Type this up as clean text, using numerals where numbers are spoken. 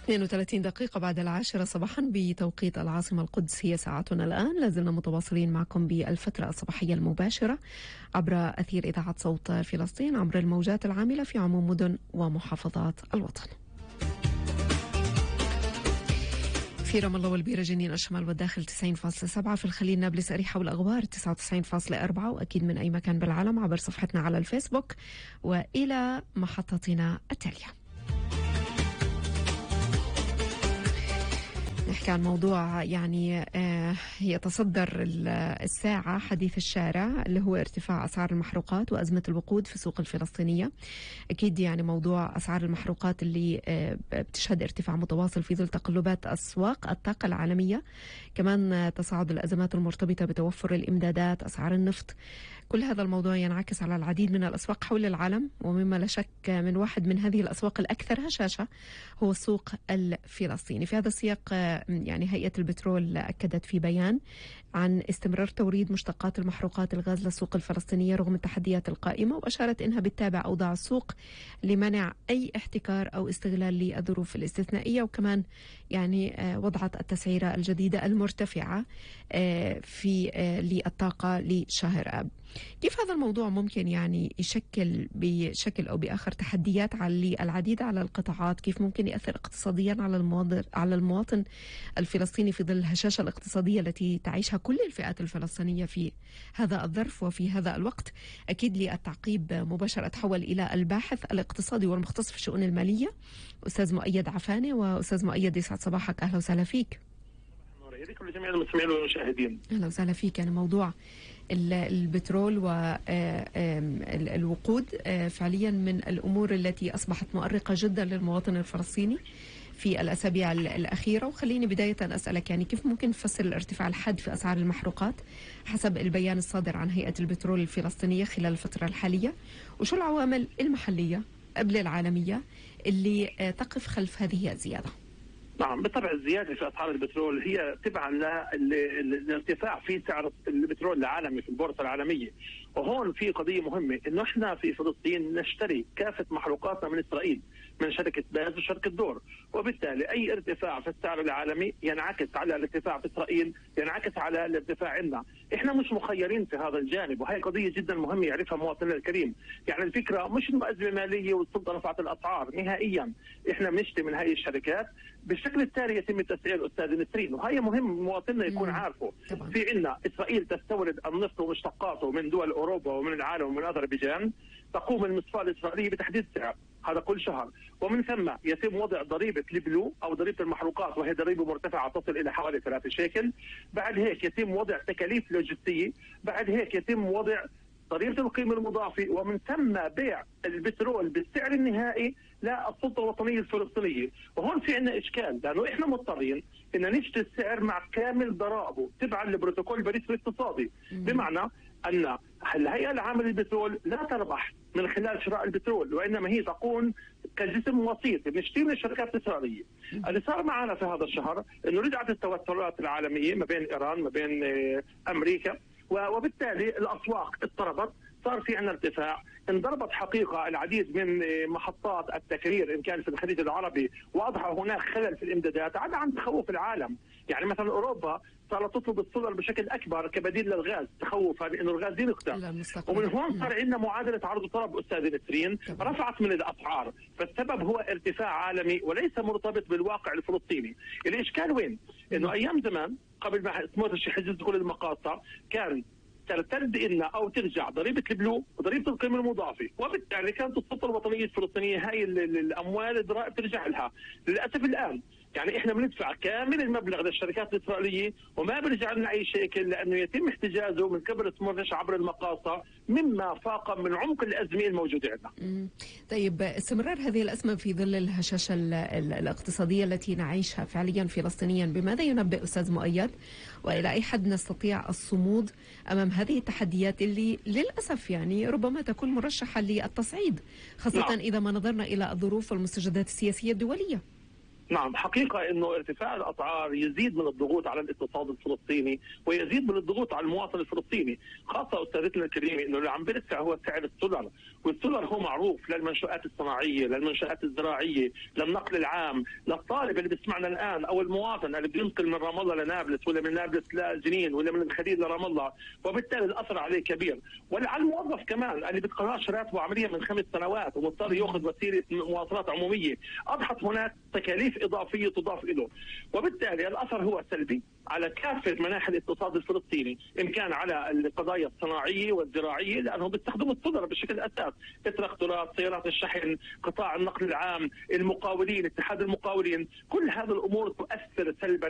32 دقيقة بعد 10 صباحا بتوقيت العاصمة القدس، هي ساعتنا الآن. لازلنا متواصلين معكم بالفترة الصباحية المباشرة عبر أثير إذاعة صوت فلسطين عبر الموجات العاملة في عموم مدن ومحافظات الوطن. في رام الله والبيرة جنين الشمال والداخل 90.7، في الخليل نابلس أريحة والأغوار 99.4، وأكيد من أي مكان بالعالم عبر صفحتنا على الفيسبوك وإلى محطتنا التالية. نحكي عن موضوع يعني يتصدر الساعة حديث الشارع، اللي هو ارتفاع أسعار المحروقات وأزمة الوقود في السوق الفلسطينية. أكيد يعني موضوع أسعار المحروقات اللي بتشهد ارتفاع متواصل في ظل تقلبات أسواق الطاقة العالمية، كمان تصاعد الأزمات المرتبطة بتوفر الإمدادات، أسعار النفط. كل هذا الموضوع ينعكس على العديد من الأسواق حول العالم، ومما لا شك من واحد من هذه الأسواق الأكثر هشاشة هو السوق الفلسطيني. في هذا السياق يعني هيئة البترول أكدت في بيان عن استمرار توريد مشتقات المحروقات الغاز للسوق الفلسطينية رغم التحديات القائمة، وأشارت إنها بتتابع أوضاع السوق لمنع أي احتكار أو استغلال للظروف الاستثنائية، وكمان يعني وضعت التسعيرة الجديدة المرتفعة في للطاقة لشهر آب. كيف هذا الموضوع ممكن يعني يشكل بشكل أو بآخر تحديات على العديد على القطاعات؟ كيف ممكن يأثر اقتصاديا على المواطن الفلسطيني في ظل الهشاشة الاقتصادية التي تعيشها كل الفئات الفلسطينية في هذا الظرف وفي هذا الوقت؟ أكيد للتعقيب مباشرة أتحول إلى الباحث الاقتصادي والمختص في الشؤون المالية أستاذ مؤيد عفاني. وأستاذ مؤيد يسعد صباحك، أهلا وسهلا فيك. كل جميع المستمعين والمشاهدين، أهلا وسهلا فيك. يعني موضوع البترول والوقود فعليا من الأمور التي أصبحت مؤرقة جدا للمواطن الفلسطيني في الأسابيع الأخيرة. وخليني بداية أسألك يعني كيف ممكن نفسر الارتفاع الحاد في أسعار المحروقات حسب البيان الصادر عن هيئة البترول الفلسطينية خلال الفترة الحالية، وشو العوامل المحلية قبل العالمية اللي تقف خلف هذه الزيادة؟ نعم، بالطبع الزيادة في أسعار البترول هي تبعا للارتفاع في سعر البترول العالمي في البورصة العالمية. وهون في قضية مهمة، إنه إحنا في فلسطين نشتري كافة محروقاتنا من إسرائيل، من شركة باز وشركة دور، وبالتالي أي ارتفاع في السعر العالمي ينعكس على الارتفاع في إسرائيل، ينعكس على الارتفاع عندنا. إحنا مش مخيرين في هذا الجانب، وهي قضية جدا مهمة يعرفها مواطننا الكريم. يعني الفكرة مش إنه أزمة مالية والسلطة رفعت الأسعار نهائيا، إحنا بنشتري من هاي الشركات بالشكل التالي يتم تسعير أستاذ نسرين، وهي مهم مواطننا يكون عارفه. في عندنا إسرائيل تستورد النفط ومشتقاته من دول أوروبا ومن العالم ومن أذربيجان، تقوم المصفاة الإسرائيلية بتحديد سعر هذا كل شهر، ومن ثم يتم وضع ضريبة البلو أو ضريبة المحروقات، وهي ضريبة مرتفعة تصل إلى حوالي 3 شيكل. بعد هيك يتم وضع تكاليف لوجستية، بعد هيك يتم وضع ضريبة القيمة المضافة، ومن ثم بيع البترول بالسعر النهائي للسلطة الوطنية الفلسطينية. وهون في عندنا إشكال، لأنه إحنا مضطرين إن نشتري السعر مع كامل ضرائبه تبعا لبروتوكول باريس الاقتصادي، بمعنى أن الهيئة العامة للبترول لا تربح من خلال شراء البترول، وإنما هي تكون كجسم وسيط بنشتري من الشركات الإسرائيلية. اللي صار معنا في هذا الشهر إنه رجعت التوترات العالمية ما بين إيران ما بين أمريكا، وبالتالي الأسواق اضطربت، صار في عندنا ارتفاع، انضربت حقيقة العديد من محطات التكرير إن كان في الخليج العربي، وأضحى هناك خلل في الإمدادات عدا عن تخوف العالم. يعني مثلا أوروبا صارت تطلب السولر بشكل أكبر كبديل للغاز تخوفا إنه الغاز ينقطع، ومن هون صار عندنا معادلة عرض وطلب أستاذ نسرين رفعت من الأسعار. فالسبب هو ارتفاع عالمي وليس مرتبط بالواقع الفلسطيني. الإشكال وين؟ إنه أيام زمان قبل ما تموت حجز كل المقاطع كان ترتد لنا او ترجع ضريبه البلو وضريبه القيمه المضافه، وبالتالي كانت السلطه الوطنيه الفلسطينيه هاي الاموال الضرائب ترجع لها. للاسف الان يعني احنا بندفع كامل المبلغ للشركات الاسرائيليه وما بيرجع لنا اي شيكل، لانه يتم احتجازه من قبل سموتريتش عبر المقاصه، مما فاق من عمق الازمه الموجوده عندنا. طيب، استمرار هذه الازمه في ظل الهشاشه الاقتصاديه التي نعيشها فعليا فلسطينيا، بماذا ينبئ استاذ مؤيد؟ والى اي حد نستطيع الصمود امام هذه التحديات اللي للاسف يعني ربما تكون مرشحه للتصعيد، خاصه اذا ما نظرنا الى الظروف والمستجدات السياسيه الدوليه؟ نعم، حقيقة أنه ارتفاع الأسعار يزيد من الضغوط على الاقتصاد الفلسطيني ويزيد من الضغوط على المواطن الفلسطيني، خاصة أستاذتنا الكريمة أنه اللي عم بيرتفع هو سعر السولر، والسولر هو معروف للمنشآت الصناعية، للمنشآت الزراعية، للنقل العام، للطالب اللي بيسمعنا الآن أو المواطن اللي بينقل من رام الله لنابلس ولا من نابلس لجنين ولا من الخليل لرام الله، وبالتالي الأثر عليه كبير، وعلى الموظف كمان اللي بتقررش راتبه عمليا من 5 سنوات ومضطر ياخذ وسيلة مواصلات عمومية، أضحت هناك تكاليف إضافية تضاف له، وبالتالي الأثر هو سلبي على كافة مناحي الاقتصاد الفلسطيني، إن كان على القضايا الصناعية والزراعية لأنهم بيستخدموا السولر بشكل أساس، التراكتورات، سيارات الشحن، قطاع النقل العام، المقاولين، اتحاد المقاولين، كل هذه الأمور تؤثر سلبا